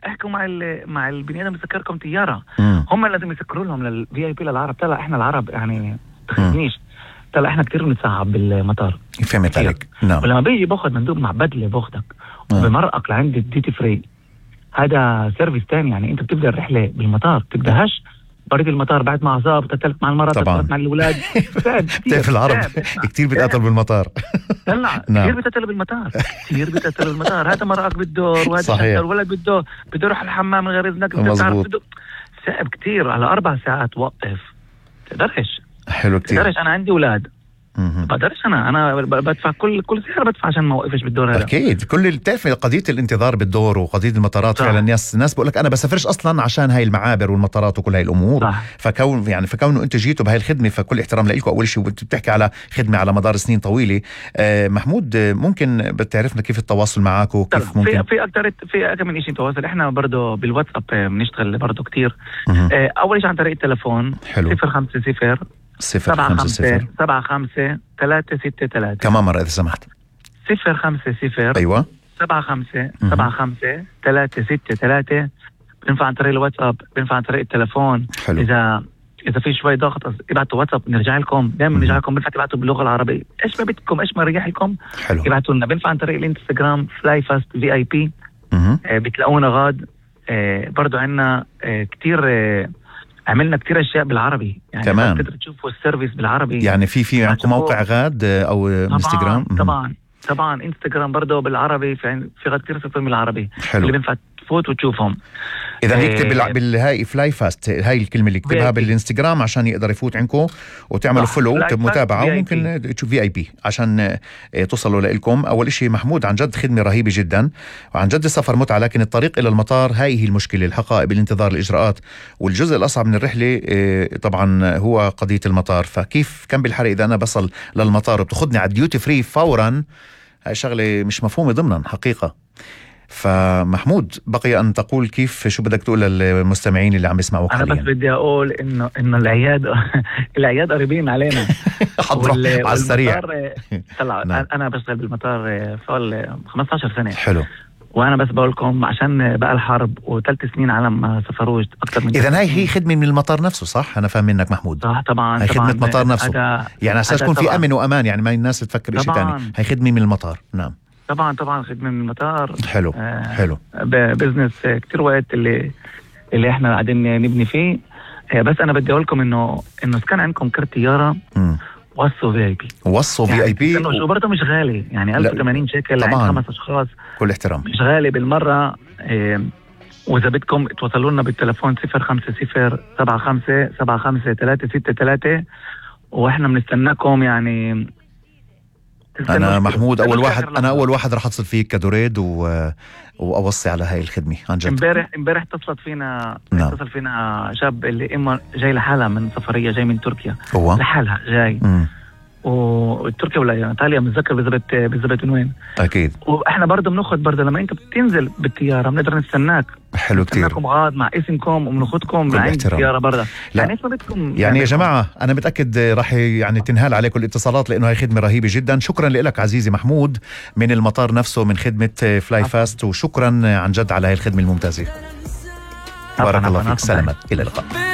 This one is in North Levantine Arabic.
احكوا مع البني ادم يسكركم طياره. هم لازم يسكروا لهم للفي اي بي للعرب. طلع احنا العرب يعني تخدنيش، طلع احنا كتير بنتصعب بالمطار. فهمت عليك. نعم. ولما بيجي باخذ مندوب مع بدله باخذك بمرقك لعند الديوتي فري، هذا سيرفيس تاني. يعني انت بتبدا الرحله بالمطار تبداش بريد المطار بعد ما عصاب تتلت مع المرأة تتلت مع الأولاد. في العرب كتير بيتقاتلوا بالمطار. طلع كتير بيتقاتلوا بالمطار، كتير بيتقاتلوا بالمطار. هذا مرأك بالدور وهذا الولد بده يروح الحمام من غير إذنك. مظبوط. صعب كتير على 4 ساعات وقف. تقدرش. حلو كتير. تقدرش. أنا عندي أولاد بقدرش. أنا بدفع كل سعر بدفع عشان ما وقفش بالدور هذا. أكيد. كل التعرف قضية الانتظار بالدور وقضية المطارات فعلا الناس بقول لك أنا بسافرش أصلا عشان هاي المعابر والمطارات وكل هاي الأمور. فكونه أنت جيتوا بهاي الخدمة فكل احترام لكم. أول شيء بتحكي على خدمة على مدار سنين طويلة. محمود ممكن بتعرفنا كيف التواصل معك وكيف ممكن في أكثر من شيء تواصل. إحنا برضو بالواتساب بنشتغل برضو كتير. أول شيء عن طريق التلفون 050 75 363. كمان مرة إذا سمحت. 050 أيوة 75 363. بنفع عن طريق الواتساب، بنفع عن طريق التلفون. حلو. إذا في شوي ضغط ابعتوا واتساب نرجع لكم. دائما نرجع لكم. بنفع تبعتوا باللغة العربية إيش ما بدكم، إيش ما ريح لكم ابعتوا لنا. بنفع عن طريق الانستغرام فلاي فاست VIP. بتلاقونا غاد. برضو عنا كتير عملنا كتير أشياء بالعربي يعني كمان تقدر تشوفوا السيرفيس بالعربي. يعني في عندكم موقع غاد أو انستغرام؟ طبعا انستغرام برضه بالعربي. في غاد كتير صفر بالعربي. حلو. اللي بينفع تفوت وتشوفهم. إذا يكتب بالهاي فلاي فاست، هاي الكلمة اللي يكتبها بالانستغرام عشان يقدر يفوت عندكم وتعملوا فولو متابعة. وممكن تشوف VIP عشان توصلوا لإلكم. أول إشي محمود عن جد خدمة رهيبة جدا وعن جد سفر متعة. لكن الطريق إلى المطار هاي هي المشكلة، الحقائب، الانتظار، الإجراءات. والجزء الأصعب من الرحلة طبعا هو قضية المطار. فكيف كان بالحرق إذا أنا بصل للمطار وبتاخدني على الديوتي فري فورا؟ هاي شغلة مش مفهومة ضمنا حقيقة. فمحمود بقي أن تقول كيف شو بدك تقول للمستمعين اللي عم يسمعوك حاليا؟ أنا بس بدي أقول إنه العياد قريبين علينا. على السريع. طلع أنا بشتغل بالمطار فوق 15 سنة. حلو. وأنا بس بقولكم عشان بقى الحرب و3 سنين عالم ما سفروش أكتر من. إذن هي خدمة من المطار نفسه صح؟ أنا فاهم منك محمود. صح طبعا. هي خدمة مطار نفسه. يعني أساس تكون في أمن وأمان. يعني ما الناس تفكر إشي تاني. هي خدمة من المطار. نعم طبعا خدمة من المطار. حلو. حلو. بزنس كتير وقت اللي احنا قاعدين نبني فيه. بس انا بدي اقولكم انه كان عندكم كرت طياره وصوا VIP. وصوا VIP شو برضه مش غالي يعني 1080 شيكل عند 5 أشخاص. كل احترام مش غالي بالمرة. واذا بدكم توصلوا لنا بالتلفون 050 75 363 واحنا بنستناكم. يعني أنا محمود أول واحد رح أتصل فيك كدوريد وأوصي على هاي الخدمة عن جد. امبارح اتصل فينا شاب اللي إما جاي لحالها من سفرية جاي من تركيا لحالها جاي. وتركيا ولا ايطاليا متذكر بالضبط من وين. اكيد. واحنا برضه بناخذ برضه لما انت بتنزل بالطياره بنقدر نستناك. حلو كتير. نستناكم غاد مع اسمكم وبناخذكم لعند الطياره برضه. يعني اسمه بدكم يعني يا جماعه انا متاكد راح يعني تنهال عليكم الاتصالات لانه هي خدمه رهيبه جدا. شكرا لك عزيزي محمود من المطار نفسه من خدمه فلاي فاست. وشكرا عن جد على هاي الخدمه الممتازه. بارك الله فيك. سلامات. الى اللقاء.